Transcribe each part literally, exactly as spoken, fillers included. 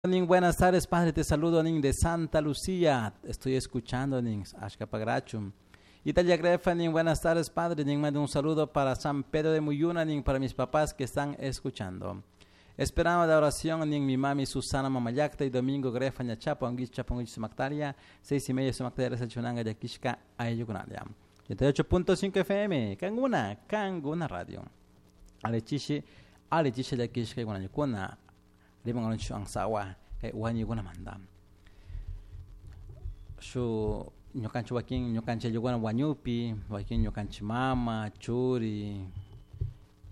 Buenas tardes, padre, te saludo nin de Santa Lucía. Estoy escuchando nin Ashkapagrachum. Italia Grefa nin, buenas tardes, padre. Nin mando un saludo para San Pedro de Muyuna nin para mis papás que están escuchando. Esperamos la oración nin mi mami Susana Mamayacta y Domingo Grefa Ñachapo, Anguich Chapo, Sumaktaria, seis y media Sumaktaria, Sachunanga, Yakishka, Ayukunalia. ochenta y ocho punto cinco F M, Kanguna, Kanguna Radio. Alechishi, Alechishi Yakishka, Guanayukuna, Rimanganchu Ansawa, Guanyukuna Manda. Shu ñukanchi wakin ñukanchi ayllukuna wañupi, wakin ñukanchi mama, churi,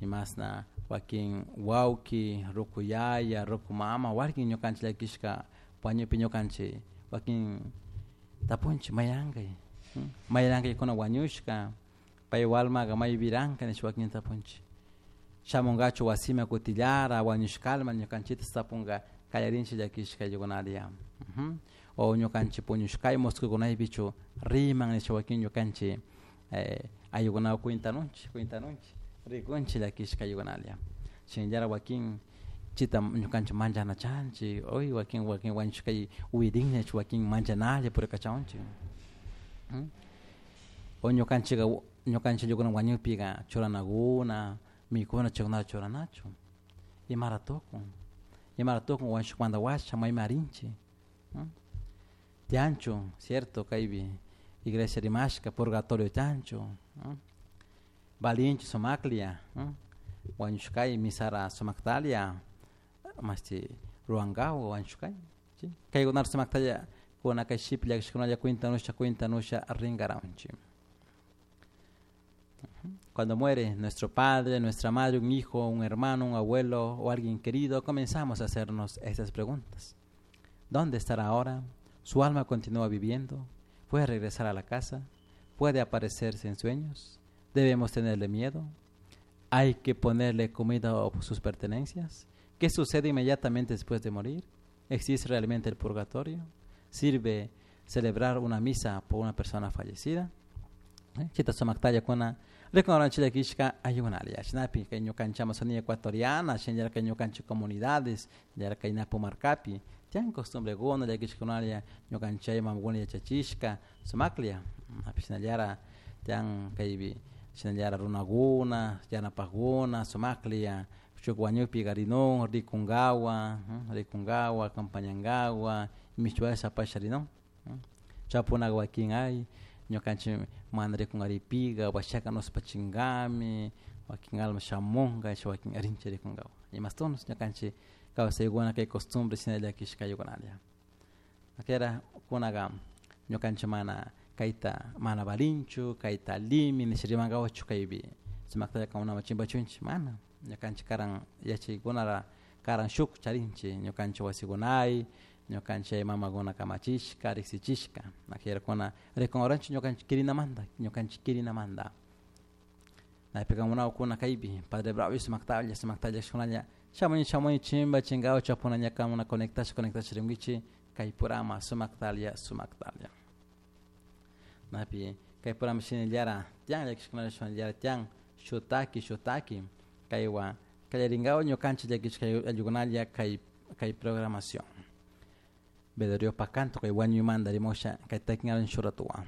imasna wakin wawki, ruku yaya, ruku mama, wakin ñukanchi llakishka wañupi ñukanchi wakin tapunchi mayankay, mayankaykuna wañushka, pay walmaqa maypiranka nish wakin tapunchi. Shamunkachu wasima kutillara, wañushkalma ñukanchita tapunka kallarinchi llakishka ayllukunaria. O ñukanchi puñushkay musquykunaypichu riman nish wakin ñukanchi ayllukunawan cuentanunchik, cuentanunchik, rikunchik llakishka ayllukunaria. Shinallara wakin chita ñukanchik manchanachanchik, hoy wakin wakin wañushkay uyirinñach wakin manchanalla purikachawunchik. O ñukanchika ñukanchik ayllukuna wañupiqa churanakuna, mikuna chaykunata churanachu. Imara tukun, imara tukun wañushkamanta washa mayman rinchik. Tianchu, cierto, kaypi iglesia rimashka, purgatorio tianchu, valinchu sumaklia, wañushkay misara sumaktalia, masti ruwankawa wañushkay. Kaykunata sumaktalla kuna kay shipi llakishkunalla cuentanusha, cuentanusha rinkaranchik. Cuando muere nuestro padre, nuestra madre, un hijo, un hermano, un abuelo o alguien querido, comenzamos a hacernos estas preguntas. ¿Dónde estará ahora? ¿Su alma continúa viviendo? ¿Puede regresar a la casa? ¿Puede aparecerse en sueños? ¿Debemos tenerle miedo? ¿Hay que ponerle comida o sus pertenencias? ¿Qué sucede inmediatamente después de morir? ¿Existe realmente el purgatorio? ¿Sirve celebrar una misa por una persona fallecida? Chita sumaktalla kuna reconocen llakishka ayunalia. Shinapi kay ñukanchik Amazonía ecuatoriana, shinallara kay ñukanchik comunidades, shinallara kay Napo Marcapi, tian costumbre guna llakishkunalia ñukanchik mamaguna yachachishka sumaklia. Api shinallara tian kaypi shinallara runaguna, yanapajguna, sumaklia, shuk wañupi garinun, rikungawa, rikungawa, acompañangawa, michuasha pasharinun. Chapunaga wakin ay, ñukanchik mana rikunaripiga, washaka nuspachingami, wakin alma shamunga, wakin rinchi rikungawa. Imastunos ñukanchik kawsaykuna kay costumbre shina llakishka ayukunalia. Akera kunaga ñukanchik mana kayta mana valinchu, kayta limi, nish rimankawachu kaypi sumaktalla kawnaman chimpachunchik, mana ñukanchik karan yachaykunara karan shuk charinchik ñukanchik wasikunay, ñukanchik mamakuna kamachishka, riksichishka. Akera kuna rikunawranchik ñukanchik kirinamanta, ñukanchik kirinamanta. Naypika munawkuna kaypi Padre Bravo sumaktalla, sumaktalla llakishkunalla shamuy shamuy chimba chingawa chapuna ñakamuna conectasha, conectasha rinkichik kay purama sumaktalla, sumaktalla. Napi kay purama shinallara tian llakishkunalla shinallara tian shutaki, shutaki kaywa kallarinkawa ñukanchik llakishka ayllukunalla kay kay programación. Bedorio pakanto kay wañuymanta rimusha kay takingaran shuratuwan.